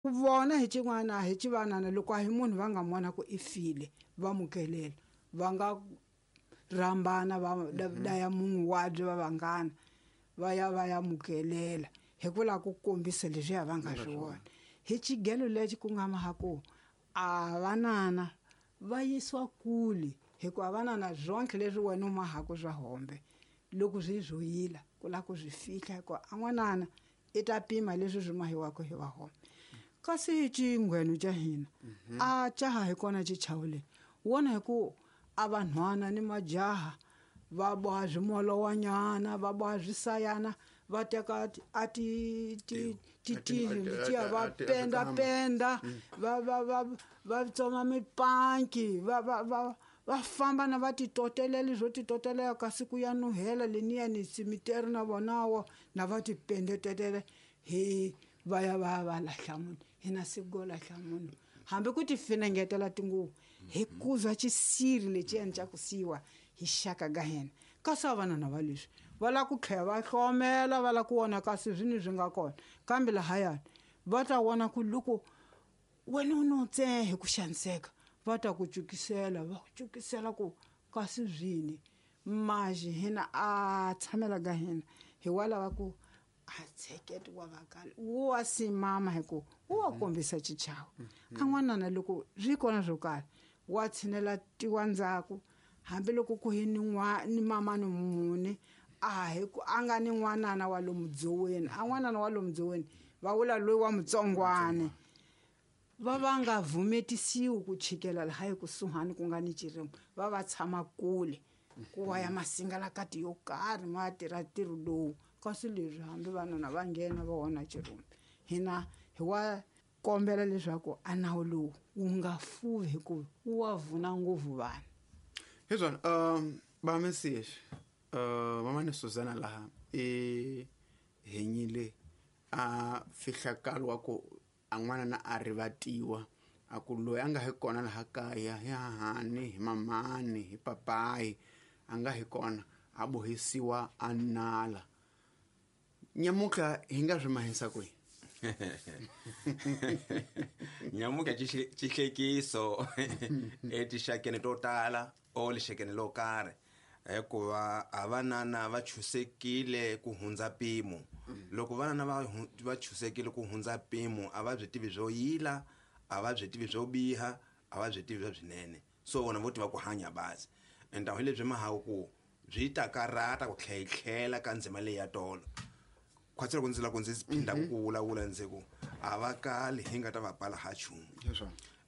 Vona hi xin'wana hi xivanana loko a hi munhu va nga vona ku i file va mukelela va nga rhambana va daya munhu wabye va vanghana va ya va ya mukelela hi ku lava ku kombisa leswiya va nga swi vona hi xigelo lexi ku nga maha ku a vanana va yisiwa kule hikuva vanana zonke leswi wena u mahaku swa hombe loko swi swo yila ku lava ku swi fihla hikuva a n'wanana i ta pima leswi swi mahiwaka hi vahombe kasi xinghwenu xa hina a caha hi kona xichavo wona hi ku a vanhwana ni majaha va boha swimolowanyana va boha swisayana va teka a ti ti ti letiya va penda penda va va va va tsoma mipanki va va va va famba na va titotelela swo titotelela kasi ku ya nuhela leniya ni simiteri na vonawo na va tipendetetele hi va ya va ya va lahla munhu hina siku go lahla munhu hambi ku ti finengetela tinguvu hi kuzwa xisiri lexiyani xa ku siyiwa hi xaka ka hina kasi a vanana va leswi va lava ku tlhela va hlomela va lava ku vona kasi swini swi nga kona kambe lahayani va ta vona ku loko wena u no tsehe hi ku xaniseka va ta ku cukisela va ku cukisela ku kasi swini maxi hina a tshamela ka hina hi wa lava ku a tsheketo wa vakali wu wa simama hi ku wu wa kombisa xichavo a n'wanana loko swi kona swo karhi wa tshinela tiwa ndzhaku hambiloko ku hi ni ni mama ni mune a hi ku a nga ni n'wanana wa lomu dzoweni a n'wanana wa lomu dzoweni va vula loyi wa mutsongwane va va nga vumetisiwi ku chikela laha ekusuhani ku nga ni xirimo va va tshama kule ku wa ya masingalakati yo karhi ma tirha ntirho lowu kasi leswi hambi vanuna va nghena va vona xirumbi hina hi wa kombela leswaku a nawu lowu wu nga fuvi hikuva wu wa vuna ngopfu vanhu. Hi swona ba Mesias mamani Susana laha i henyile a fihlakalo wa ku a n'wana na a rivatiwa a ku loyi a nga hi kona laha kaya hi hahani hi mamani hi papayi a nga hi kona a bohisiwa a nala nyamutlha hi nga swi mahisa kwihi? Nyamutlha xihlekiso etixakeni to tala o lixakeni lo karhi hikuva a vanana va chusekile ku hundza mpimo. Loko vanana va chusekile ku hundza mpimo a va byi tivi byo yila, a va byi tivi byo biha, a va byi tivi bya byinene. So vona vo tiva ku hanya bazi. Enta hi lebyi mahawu ku byi ta karata ku tlhela ka ndzima leyi ya tolo. Khwatsi loko ndzi lava ku ndzi phinda ku vulavula ndzi ku a va kali hi nga ta va pala ha nchumu.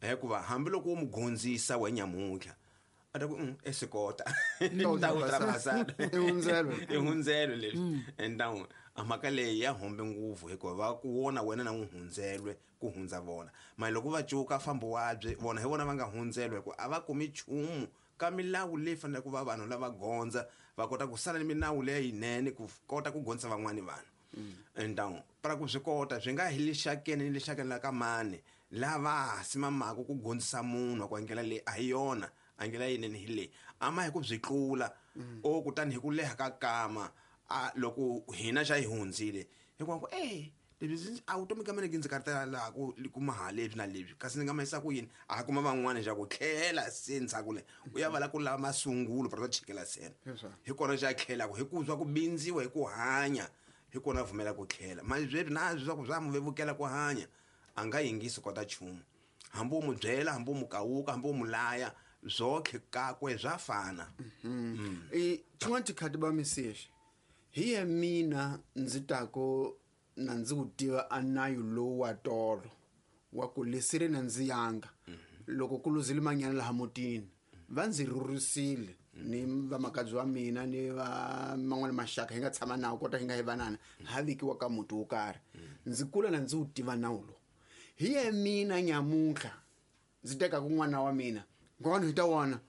Hikuva hambiloko wo mu gondzisa we nyamuntlha a ta ku esikota i hundzelo leswi enta a mhaka leyi ya hombe ngopfu hikuva va ku vona wena na n'wi hundzelwe ku hundza vona. Mara loko va cuka fambo wabye vona hi vona va nga hundzelwa hikuva a va kumi nchumu ka milawu leyi faneleke ku va vanhu lava gondza va kota ku sala ni milawu leyinene ku kota ku gondzisa van'wani vanhu. Enta para ku swi kota swi nga hi lexakeni ni lexakeni la ka mani lava simamaka ku gondzisa munhu ku ndlela leyi a hi yona a ndlela yinene hi leyi a ma hi ku byi tlula o kutani hi ku leha ka kama a loko hina xa hi hundzile hikuva ku leswi a vutomi ka mina ndzi karhatela laha ku kuma ha leswi na leswi kasi ndzi nga mahisa ku yini a kuma van'wani xa ku tlhela se ndzhaku le u ya va la ku lava masungulo para ku chikela sena hi kona xa tlhelaka hi ku zwa ku bindziwa hi ku hanya hi kona pfumela ku tlhela manje sweswi na swa ku swa mu vevukela ku hanya a nga yingisi kota nchumu hambi u mu byela hambi u mu kawuka hambi u mu laya zwokhe kakwe zwa fana. I xin'wana tikhati ba Mesias hi ya mina ndzi tako na ndzi wu tiva a nayu lowu wa tolo wa ku lesire na ndzi yanga loko ku luzile manyana laha mutini va ndzi rhurisile ni vamakadzi wa mina ni va man'wana maxaka hi nga tshama nawu kota hi nga hi vanana ha vekiwa ka muti wo karhi ndzi kula na ndzi wu tiva nawu lowu hi ya mina nyamuntlha ndzi tekaka n'wana wa mina n'wana hi ta wona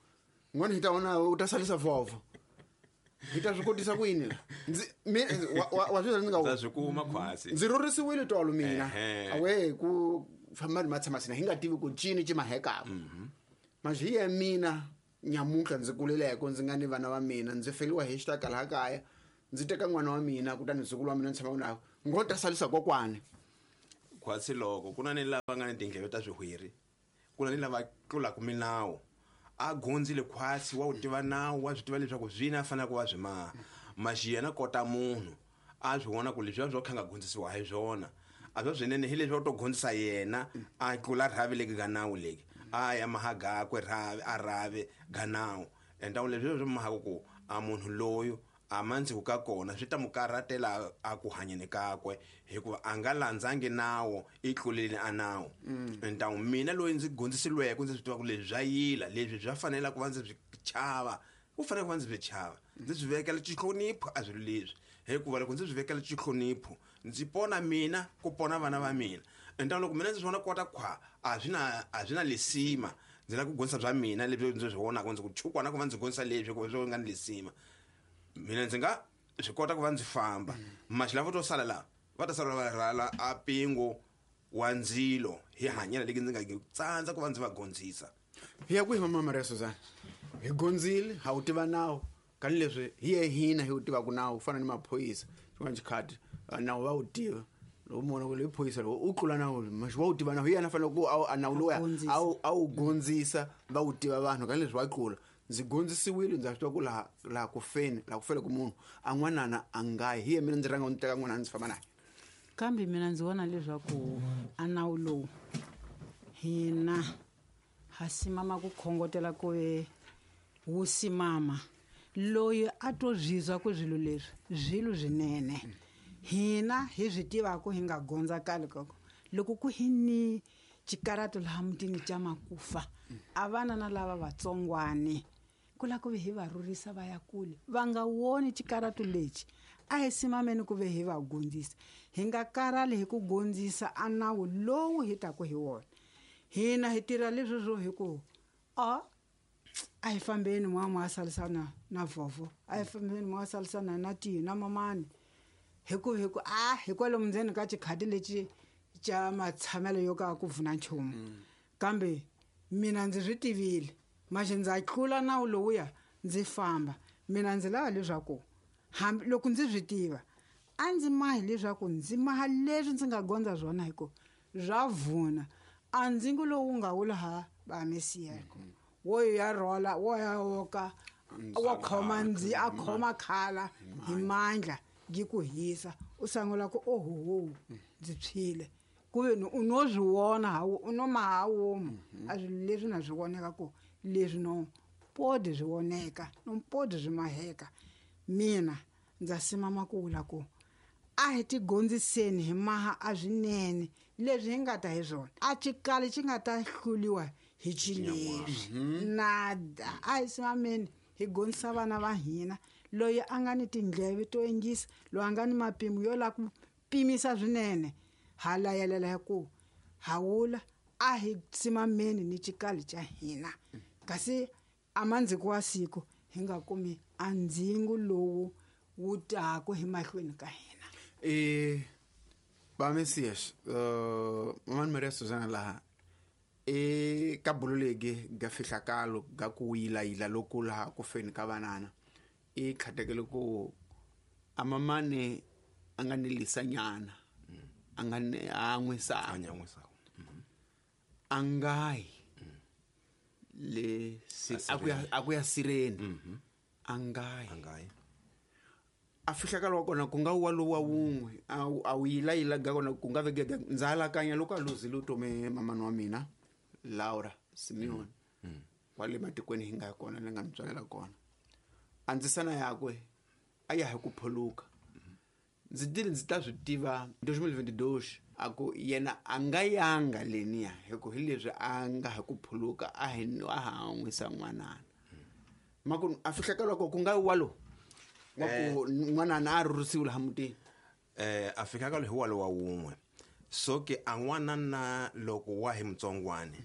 n'wana hi ta wona u ta salisa vhovho hi ta swi kotisa ku yini la ndzi wa swi ndzi nga swi kuma khwasi ndzi rhurisiwile tolo mina awe ku famba ni matshama sina hi nga tivi ku cini ci mahekaka manje hi ya mina nyamuntlha ndzi kuleleko ndzi nga ni vana va mina ndzi feliwa hi xitaka laha kaya ndzi teka n'wana wa mina kutani ndzukulu wa mina ndzi tshama na ngo ta salisa kokwani. Khwatsi loko ku na ni lava nga ni tindleve ta swihwiri, ku na ni lava tlulaka milawu. A gondzile khwatsi wa wu tiva nawu, wa swi tiva leswaku swini a fanele ku va swi maha. Maxi yena kota munhu a swi vona ku leswiya swo kha nga gondzisiwa hi swona a swa swinene hi leswi to gondzisa yena a tlula rhavi leki ga nawu leki a ya maha gakwe rhavi a rhavi ga nawu. Enta leswi swi mahaka ku a munhu loyo a mandziku ka kona swi ta mu karhatela a ku hanyeni kakwe hikuva a nga landzangi nawu i tlulile a nawu. Enta mina loyi ndzi gondzisiliweke ndzi swi tiva ku leswi swa yila leswi swa fanela ku va ndzi swi chava, ku fanele ku va ndzi swi chava, ndzi swi vekela xihlonipho a swilo leswi, hikuva loko ndzi swi vekela xihlonipho ndzi pona mina ku pona vana va mina. Enta loko mina ndzi swi vona kota khwa a swi na lisima, ndzi lava ku gondzisa bya mina leswi ndzi swi vonaka ndzi ku chukwana ku va ndzi gondzisa leswi ku swi nga ni lisima, mina ndzi nga swi kota ku va ndzi famba. Maxi lavo to sala laha va ta sala va rhala a pingo wa ndzilo hi hanyela leki ndzi nga tsandza ku va ndzi va gondzisa. Hi ya kwihi mama Maria Suzana? Hi gondzile, ha wu tiva nawu, kani leswi hi ye hina hi wu tivaka nawu ku fana ni maphorisa xin'wana xikhati nawu va wu tiva. Loko mona ku le phorisa loko u tlula nawu maxi wa wu tiva nawu, hi yena fanele ku a nawu lowuya a wu gondzisa va wu tiva vanhu, kani leswi va tlula. Ndzi gondzisiwile, ndza swi tiva ku laha ku feni, laha ku fele ku munhu a n'wanana a nga yi, hi ye mina ndzi rhanga ndzi teka n'wanana ndzi famba naye. Kambe mina ndzi vona leswaku a nawu lowu hina ha simama ku khongotela ku ve wu simama loyi a to zwizwa ku swilo leswi swilo swinene hina hi swi tivaka hi nga gondza kale koko loko ku hi ni xikarato laha mutini xa makufa a vana na lava vatsongwani ku lava ku ve hi va rhurhisa va ya kule va nga woni xikarato lexi a hi simameni ku ve hi va gondzisa, hi nga karhali hi ku gondzisa a nawu lowu hi taku hi wona. Hina hi tirha leswi swo hi ku a hi fambeni mwa salisana na vovo, a hi fambeni mwa salisana na tina mamani, hi ku a hi kwalomu ndzeni ka xikhati lexi xa matshamelo yo ka ku vuna nchumu. Kambe mina ndzi swi tivile maxi ndza tlula nawu lowuya ndzi famba. Mina ndzi lava leswaku hambi loko ndzi swi tiva a ndzi mahi leswaku ndzi maha leswi ndzi nga gondza swona hi ku swa vuna a ndzingo lowu nga wula ha va Mesiya wo ya rhola wo ya woka wa khoma ndzi a khoma khala hi mandla yi ku hisa u sangula ku ohoho ndzi tshwile ku ve u no swi vona ha u no maha womu a swilo leswi na swi voneka ku leswi no podi swi voneka no podi swi maheka. Mina ndza simama ku vula ku a hi tigondziseni hi maha a swinene leswi hi nga ta hi swona a xikali xi nga ta hluliwa hi xileswi nada. A hi simameni hi gondzisa vana va hina, loyi a nga ni tindleve to yingisa, loyi a nga ni mapimo yo lava ku pimisa swinene, ha layelela hi ku hawula a hi simameni ni xikali xa hina, kasi a mandziko wa siku hi nga kumi a ndzingo lowu wu taku hi mahlweni ka hina. Ba Mesias, mama Maria Suzana laha ka bulo legi ga fihlakalo ga ku yilayila loku laha ku feni ka vanana i khatekele ku amamane a nga ni lisanyana a nga ni a n'wisa a ngayi le a ku ya sireni a ngayi a fihlakalo wa kona ku nga wa lowa wun'we a wu yilayila ga kona ku nga vegega. Ndza alakanya loko a luzile utome mamani wa mina Laura Simeon kwale matikweni hi nga ya kona ni nga ni tswalela kona, a ndzisana yakwe a ya hi ku phuluka. Ndzi tile ndzi ta swi tiva 2022 a ku yena a nga yanga leniya hi ku hi leswi a nga hi ku phuluka a hi a ha n'wisa n'wanana maku a fihlakalo ku nga walo wa ku n'wanana a rhurhisiwe laha mutini. A fihlakalo hi walo wa wun'we so ke a n'wanana loko wa hi mutsongwani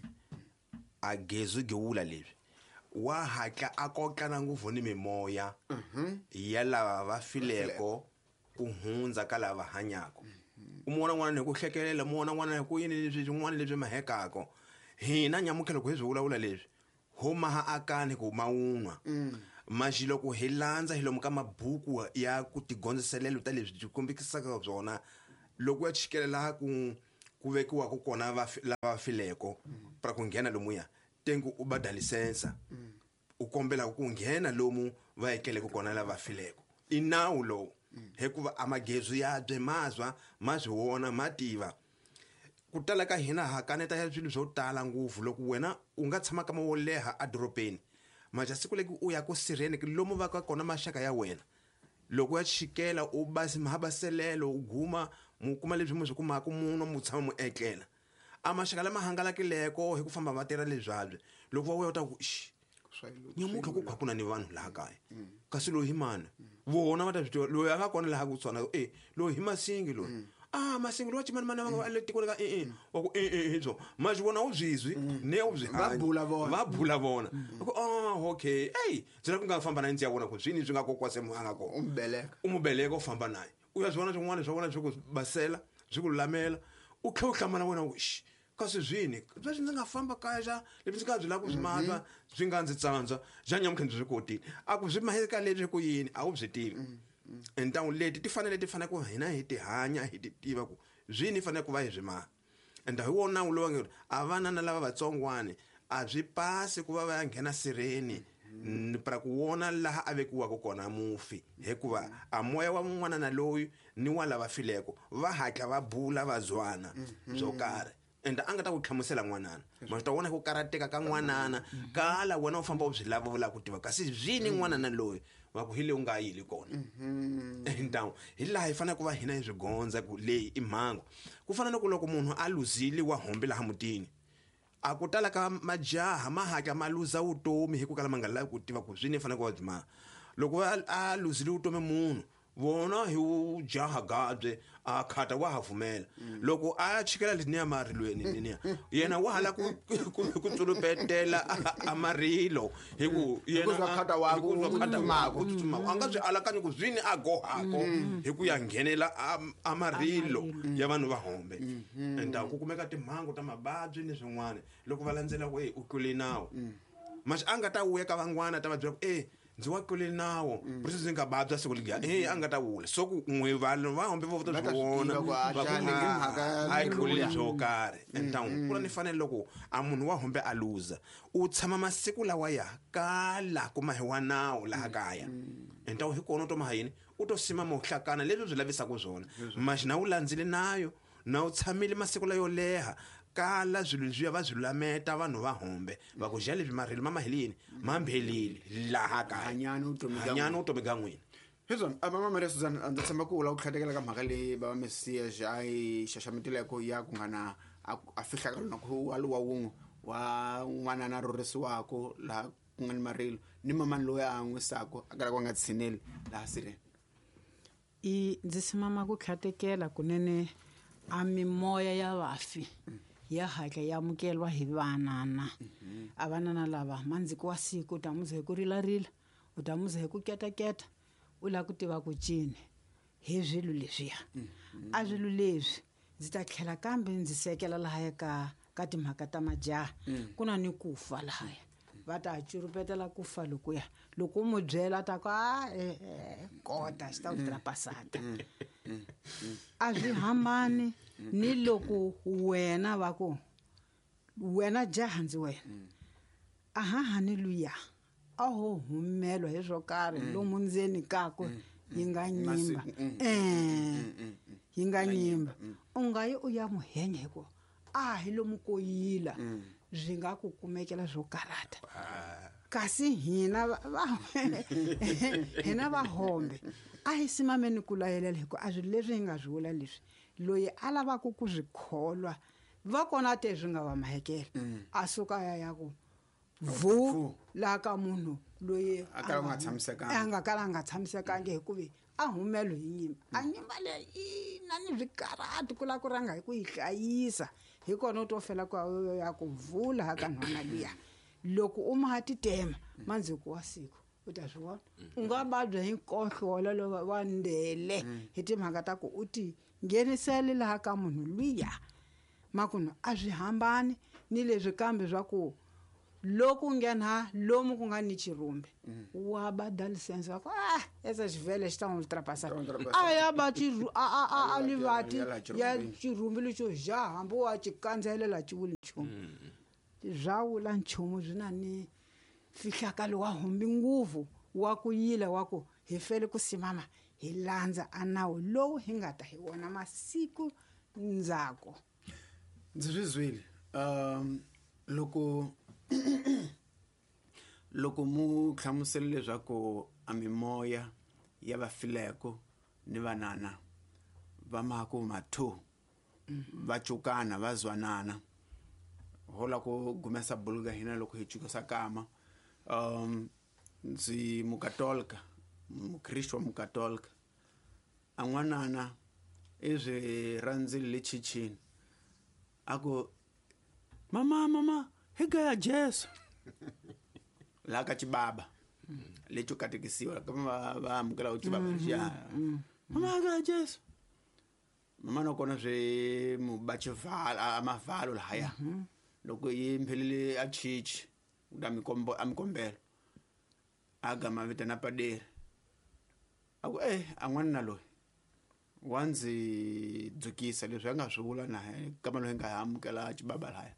a gezwi gewula leswi wa hatla a kotlana ngopfu ni mimoya ya lava va fileko ku hundza ka lava hanyaka. U mona n'wana hi ku hlekelela, mona n'wana hi ku yini leswi swin'wana leswi mahekako. Hina nyamutlha loko hi swi vulavula leswi ho maha akani ku mawunwa maxi loko hi landza hi lomu ka mabuku ya ku tigondziselelo ta leswi byi kombekisaka byona loko ya chikelela ku ku vekiwaka kona lava fileko pra ku nghena lomuya tengu u bada lisensa u kombela ku nghena lomu va ekeleke kona lava fileko i nawu lowu hikuva amagezu ya bye mazwa ma swi vona ma tiva ku tala ka hina ha kaneta ya swilo swo tala ngopfu loko wena u nga tshama kama wo leha edorobeni maja siku leki u ya ku sirheni lomu va ka kona maxaka ya wena loko ya chikela u basi mahabaselelo u guma mu kuma leswi mu swi kumaka munhu mu tshama mu etlela a maxaka lama hangalakileko hi ku famba va tirha leswabye loko va vuya u ta ku nyamuntlha ku kha ku na ni vanhu laha kaya kasi loyi hi mani vona va ta swi tiva loyi a nga kona laha ku tshwana e loyi hi Masingi loyi a Masingi loyi wa chimanimani va nga le tikweni ka e wa ku e hi byo ma swi vona u byizwi ne u byi Va bula vona. va bula vona ku ah okay ey ndzi la ku nga famba na ndzi ya vona ku swini swi nga kokwase mu a nga kona u mbeleka u mu beleka u famba naye u ya swi vona swin'wana swa vona swi ku basela swi ku lulamela u tlhela u hlamala wena u ku xi kasi swini leswi ndzi nga famba kaya xa leswi ndzi nga byi lava ku swi matwa swi nga ndzi tsandza xa nyamuntlha ndzi swi kotile a ku swi maheka leswi ku yini a wu byi tivi ntangu leti ti fanele ti fanele ku hina hi ti hanya hi ti tiva ku swini fanele ku va hi swi maha ende hi wona nawu lowu nge a vana na lava vatsongwani a swi pasi ku va va ya nghena sirheni pra ku wona laha a vekiwaka kona mufi hikuva a moya wa n'wana na loyi ni wa lava fileko va hatla va bula va zwana byo karhi ende a nga ta ku hlamusela n'wanana ma swi ta vona ku karateka ka n'wanana kala wena u famba u byi lava u lava ku tiva kasi byini n'wanana loyi va ku hi leyi u nga yili kona ntawu hi laha hi fanele ku va hina hi swi gondza ku leyi i mhangu ku fana na ku loko munhu a luzile wa hombe laha mutini a ku tala ka majaha ma hatla ma luza vutomi hi ku kala ma nga lavi ku tiva ku swini fanele ku va byi maha loko a luzile vutomi munhu vona hi ujaha gabye a khata wa ha pfumela loko a chikela leniya marilweni leniya yena wa hala ku tsulupetela a marilo hi ku yena khata wa ku tsutsumaka a nga swi alakanyi ku zwini a gohako hi ku ya nghenela a marilo ya vanhu va hombe ende ku kumeka timhangu ta mavabyi ni swin'wana loko va landzela ku u tlule nawu maxi a nga ta wuya ka van'wana ta va byela ku ndzi wa tlule nawu process ndzi nga babya siku liya a nga ta wula so ku n'we vanhu va hombe vo ta swi vona a yi tluleli byo karhi ntangu ku na ni fanele loko a munhu wa hombe a luza u tshama masiku lawa ya kala kuma hi wa nawu laha kaya ntangu hi kona u to maha yini u to sima mohlakana leswi byi lavisaka swona maxi na wu landzile nayo na u tshamile masiku layo leha kala swilo leswiya va swi lulameta vanhu va hombe va ku xa leswi marilo ma mahelini ma mbhelile laha kaya hanyani vutomi bya n'wina hiswona a mama Maria Susan ndzi tshemba ku u lava ku tlhatekela ka mhaka leyi bava Mesiya a yi xaxametileko ya ku nga na a fihlaka lona ku wa luwa wun'we wa n'wana na rhurhisiwako laha ku nga ni marilo ni mamani loyi a an'wisako a kalaka a nga tshineli laha sirheni i ndzi simama ku tlhatekela kunene a mimoya ya vafi ya hatla ya amukelwa hi vanana a vanana lava mandziko wa siku u ta muza hi ku rilarila u ta muza hi ku ketaketa u lava ku tiva ku cini hi swilo leswiya a swilo leswi ndzi ta tlhela kambe ndzi sekela lahaya ka timhaka ta majaha ku na ni ku fa lahaya va ta curupetela ku fa lokuya loko u mu byela ta ku a kota xi ta ku trapasata a swi hambani ni loko wena va ku wena jaha ndzi wena a hahani luya a ho humelwa hi swo karhi lomu ndzeni kakwe yi nga nyimba yi nga nyimba u nga yi u ya muhenya hikuva a hi lomu ko yila byi nga ku kumekela swo karata kasi hina hina va hombe a hi simameni ku layelela hikuva a swilo leswi hi nga swi vula leswi loyi a lavaka ku swi kholwa va kona te swi nga va mahekela a suka ya ya ku vu laha ka munhu loyi a nga kala a nga tshamisekangi hikuva a humelo hi nyimba a nyimba leyi i na ni swikarati ku lava ku rhanga hi ku yi hlayisa hi kona u to fela ku ya ku vula ha ka nhwana luya loko u maha titema mandziko wa siku u ta swi vona u nga vabya hi nkohlo wolowo wa ndele hi timhaka ta ku u ti nghenisele laha ka munhu luya makunu a swi hambani ni leswi kambe swa ku Loko u nghena lomu ku nga ni chirumbi wa ba lisense va ku ah esa xivhele xi ta n'wi ultrapassa. Ta n'wi ultrapassa. A ya ba a a a a A livati ya la ya chirumbini. chirumbi lexo ja hambi wa ci kandzelela ci wuli nchumu. Bya wula nchumu byi na ni fihlakalo wa humbi nguvu wa ku yila wa ku hi fele ku simama hi landza a nawu lowu hi nga ta hi wona masiku ndzhaku. Ndzi swi zwile loko loko mu hlamusela leswaku a mimoya ya vafileko ni vanana va maku mathu va cukana va zwanana hola ku gumesa buluka hina loko hi cukisa kama ndzi mukatolika, mukristo wa mukatolika, a n'wanana i swi rhandzile le chichini a ku mama mama hi gaya Jesu laha ka xibaba lexo katekisiwa ka va amukela xibaba lexiya, mama hi gaya Jesu. Mama nakona swi mu ba xivalo a mavalo lahaya loko yi mphelele a chichi u ta a mi kombela a gama vitana paderi a ku a n'wanuna loyi wa ndzi dzukisa leswi a nga swi vula na kama loyi nga amukela xibaba lahaya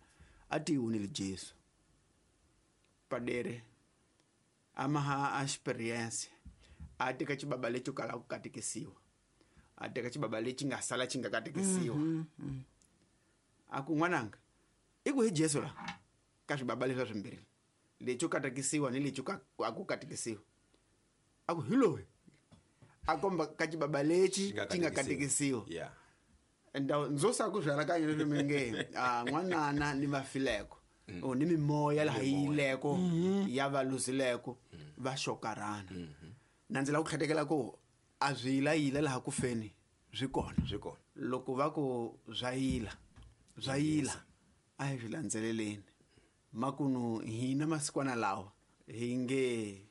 a ti wunile Jesu. Padere a maha experience a teka xibaba lexo kala ku katekisiwa, a teka xibaba lexi nga sala xi nga katekisiwa. A ku n'wananga i ku hi Jesu la ka swibaba leswi swimbirhi lexo katekisiwa ni lexo a ku katekisiwa, a ku hi loyi a komba ka xibaba lexi xi nga katekisiwa. Nda ndzo sa ku byalakanya leswi mi nge a n'wanana ni vafileko o ni mimoya laha yi yileko ya va luzileko va xokarana. Na ndzi lava ku tlhatekela ku a swi yilayila laha ku feni swi kona. Swi kona. Loko va ku swa yila, swa yila, a hi swi landzeleleni. Makunu hina masikwana lawa hi nge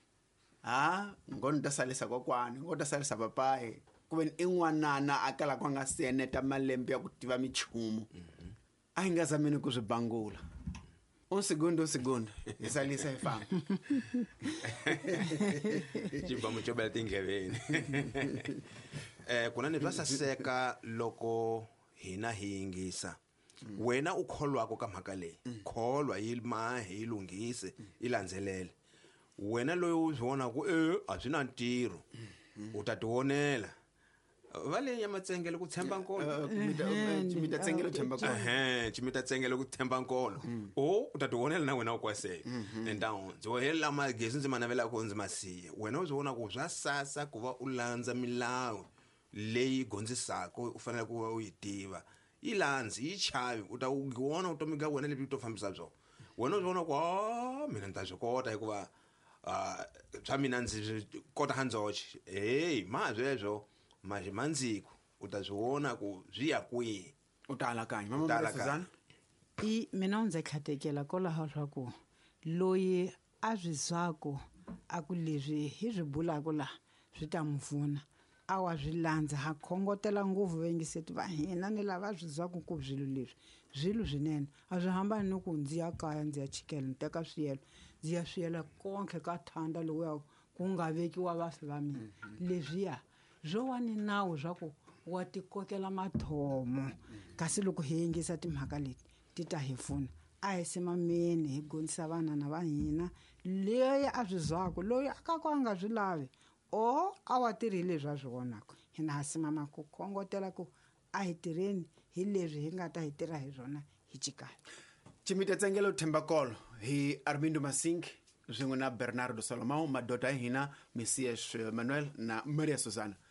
ha ngo ni ta salisa kokwani, ngo ta salisa papayi, ku ve ni i n'wanana a kalaka a nga si eneta malembe ya ku tiva minchumu. A hi nga zameni ku swi bangula. Un segundo, un segundo. Hi salisa hi famba. Xibamu xo bela tindleveni. Kunene swa saseka loko hina hi yingisa. Wena u kholwako ka mhaka leyi, kholwa yi mahe yi lunghise, yi landzelele. Wena loyi u swi vonaka ku a swi na ntirho, u ta tivonela. Va le Nyamatsengele ku tshemba nkolo. Chimita tsengele tshemba nkolo. Chimita tsengele ku tshemba nkolo. O u ta tivonela na wena u kwaseka. Entawu ndzi helela magezi ndzi ma navelaka ku ndzi ma siya. Wena u swi vona ku swa sasa ku va u landza milawu leyi gondzisaka u fanele ku va u yi tiva. Yi landzi, yi chavi, u ta vona vutomi bya wena lebyi u to fambisa byona. Wena u swi vona ku mina ni ta swi kota hikuva swa mina ndzi swi kota ha ndzoxe. Hey, ma sweswo mandziko u ta swi vona ku swi ya kwihi. U ta alakanya. Mama U ta Maria alakanya. Suzana? I mina ndzi tlhatekela kwalaho swa ku loyi a swi zwaku a ku leswi hi swi bulaka laha swi ta n'wi pfuna, a wa swi landza. Ha khongotela ngopfu vayingiseti va hina ni lava swi zwaku ku swilo leswi swilo swinene a swi hambani ni ku ndzi ya kaya ndzi ya chikela ni teka swiyelo ndzi ya swiyela konke ka thanda lowuya ku nga vekiwa vafi va mina. Leswiya swo wa ni nawu swa ku wa tikokela mathomo, kasi loko hi yingisa timhaka leti ti ta hi pfuna. A hi simameni hi gonisa vanana va hina leyi a swi zwaku loyi a ka ku a nga swi lavi o a wa tirhi leswi a swi vonaka. Hina ha simama ku khongotela ku a hi tirheni hi leswi hi nga ta hi tirha hi swona hi chikaya. Chimita Tsengelo Thembakolo hi Armindo Masing swin'we na Bernardo Salomão, madota ya hina Messias Manuel na Maria Susana.